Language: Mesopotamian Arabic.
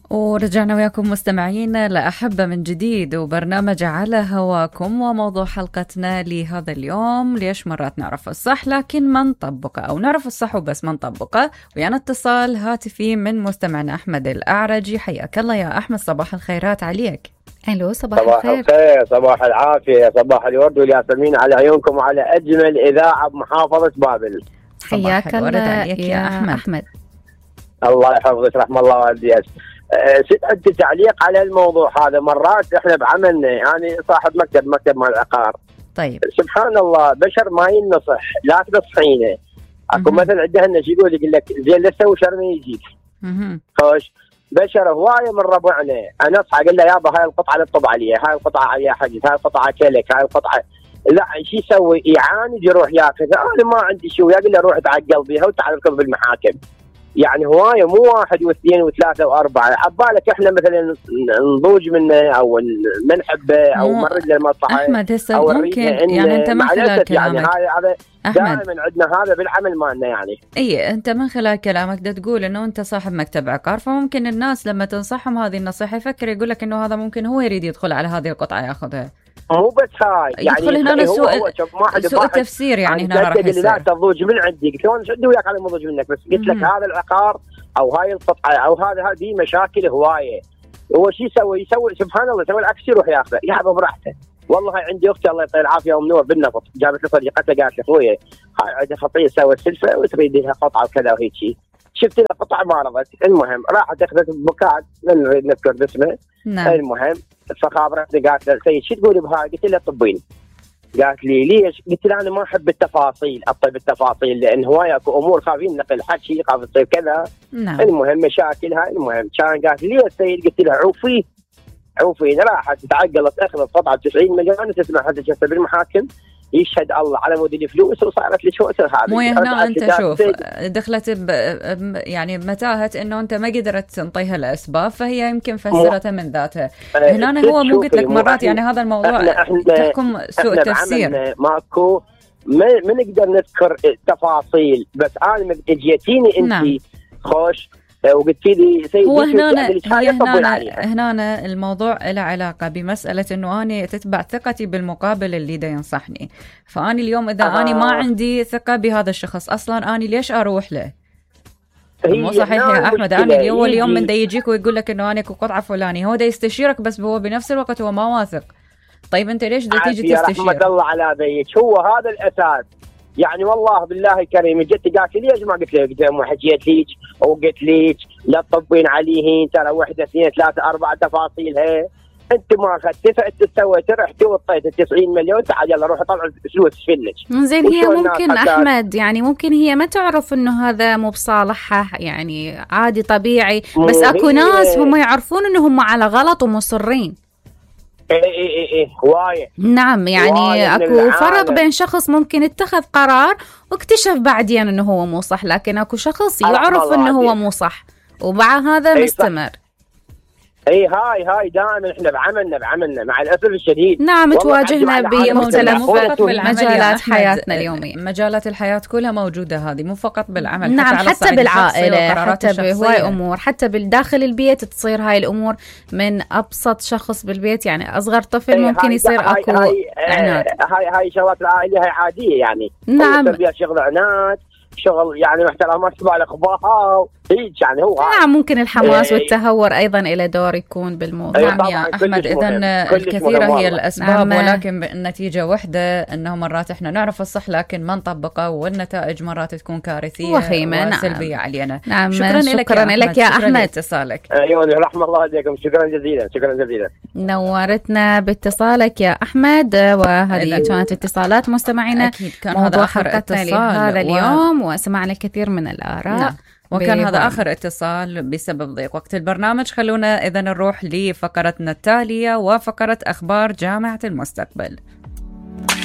ورجعنا وياكم مستمعين لأحبة من جديد وبرنامج على هواكم، وموضوع حلقتنا لهذا اليوم: ليش مرات نعرف الصح لكن ما نطبقه، أو نعرف الصح وبس ما نطبقه. ويانا اتصال هاتفي من مستمعنا أحمد الأعرجي. حياك الله يا أحمد، صباح الخيرات عليك. الو، صباح الخير، صباح العافية، صباح الورد والياسمين على عيونكم وعلى أجمل إذاعة بمحافظة بابل. حياك الله يا أحمد. الله يحفظك، رحم الله والديك. عندي تعليق على الموضوع هذا. مرات احنا بعملنا، يعني صاحب مكتب مال العقار. طيب سبحان الله، بشر ما ينصح، لا تنصحينه. اكو مثل عندنا يقول لك زين لا تسوي شر ما يجيك. خوش بشر هوايه من ربعنا، انا اصحى اقول له يابا هاي القطعه لا تطب عليها، هاي القطعه عليها حجز، هاي القطعه كلك، هاي القطعه لا شو يسوي؟ يعاند يروح ياخذ. انا ما عندي شو، يقول له روح تعقل بيها وتعال اركب بالمحاكم. يعني هوايه، مو واحد واثنين وثلاثه واربعه. عبالك احنا مثلا نضوج منه او ما نحبه او نمرد له المصلحه. احمد هسه ممكن يعني انت من خلال كلامك، يعني هذا دائما عندنا هذا بالعمل مالنا. يعني اي انت من خلال كلامك دا تقول انه انت صاحب مكتب عقار، فممكن الناس لما تنصحهم هذه النصيحه يفكر يقول لك انه هذا ممكن هو يريد يدخل على هذه القطعه ياخذها. مو بس هاي، يعني يدخل هنا سوء التفسير. يعني هنا راح يصير لا تضوج من عندي. قلت له انا عندي وياك على مضوج منك، بس قلت لك هذا العقار او هاي القطعه او هذه مشاكل هوايه. هو شو يسوي سبحان الله، يسوي العكس، يروح ياخذه يحبه براحته. والله هاي عندي اختي الله يعطيها العافيه ام نور بالنفط، جابت لي صديقتها قالت لي اخويا هاي عندها خطيه سوت سلفه وتريد لها قطعه وكذا وهيك شيء. شفت لها قطعه ما رضت، المهم راحت اخذت بوكات، من نريد نذكر اسمه. نعم. المهم فخابرتني قالت له سيد شو تقولي بهاي؟ قلت لها طبين. قالت لي ليش؟ قلت لها انا ما احب التفاصيل، اطيب التفاصيل لان هوايه اكو امور خايفين نقل حكي، خاف تصير كذا. نعم. المهم مشاكلها. المهم كان قالت لي يا سيد، قلت لها عوفي. راحت تعقلت، اخذت قطعه 90 مليون تسمع حتى جلسه بالمحاكم، يشهد الله على مود الفلوس، وصارت لي شو هذه. مو هنا انت شوف دخلت يعني بمتاهه انه انت ما قدرت تنطيها الاسباب، فهي يمكن فسرتها من ذاتها. هنا هو مو قلت لك مرات يعني هذا الموضوع تحكم سوء التفسير. ماكو ما نقدر نذكر تفاصيل، بس انا اجيتيني انت. نعم. خوش وقلت لي سيدي هو هنا الموضوع له علاقة بمسألة انه انا تتبع ثقتي بالمقابل اللي دا ينصحني. فاني اليوم اذا اني ما عندي ثقة بهذا الشخص اصلا، اني ليش اروح له؟ مو صحيح يا احمد. انا اليوم من دا يجيك ويقول لك انه انا قطعة فلانية، هو دا يستشيرك بس هو بنفس الوقت هو ما واثق. طيب انت ليش دا تيجي تستشير؟ رحمة الله على ذيك، هو هذا الاساس. يعني والله بالله الكريم جت قالت لي ليش ما قلت لك؟ ما حكيت ليك وقلت لك لا تطبين عليه ترى 1 2 3 4 تفاصيلها. انت ما اخذت فانت سويت، رحت وطيت 90 مليون، تعال يلا روح طلع فلوس فينك. زين هي ممكن احمد، يعني ممكن هي ما تعرف انه هذا مو بصالحها، يعني عادي طبيعي، بس اكو ناس هم يعرفون انهم على غلط ومصرين. ايه هوايه. نعم، يعني اكو فرق بين شخص ممكن اتخذ قرار واكتشف بعدين انه هو مو صح، لكن اكو شخص يعرف انه هو مو صح وبعد هذا مستمر. اي هاي دائما احنا بعملنا مع الاسف الشديد. نعم، تواجهنا بمختلف مجالات حياتنا اليوميه. مجالات الحياه كلها موجوده هذه، مو فقط بالعمل. نعم، حتى بالعائله، حتى بهواي امور، حتى بالداخل البيت تصير هاي الامور. من ابسط شخص بالبيت، يعني اصغر طفل ممكن يصير اكو عناد. هاي شغلات العائله هاي عاديه يعني. نعم، شغل عناد، شغل يعني محترمات تبع الاخبار هيك يعني. هو نعم، ممكن الحماس والتهور ايضا له دور يكون بالموضوع. نعم يا احمد، اذا الكثيره هي الاسباب، ولكن النتيجه وحده، انه مرات احنا نعرف الصح لكن ما نطبقه، والنتائج مرات تكون كارثيه وسلبيه علينا. نعم، شكرا لك يا احمد. اتصالك. ايوه، رحم الله عليكم. شكرا جزيلا. نورتنا باتصالك يا احمد. وهذه كانت اتصالات مستمعينا. اكيد كان هذا اخر اتصال هذا اليوم، وسمعنا الكثير من الاراء. نعم. وكان هذا آخر اتصال بسبب ضيق وقت البرنامج. خلونا إذن نروح لفقرتنا التالية، وفقرة أخبار جامعة المستقبل.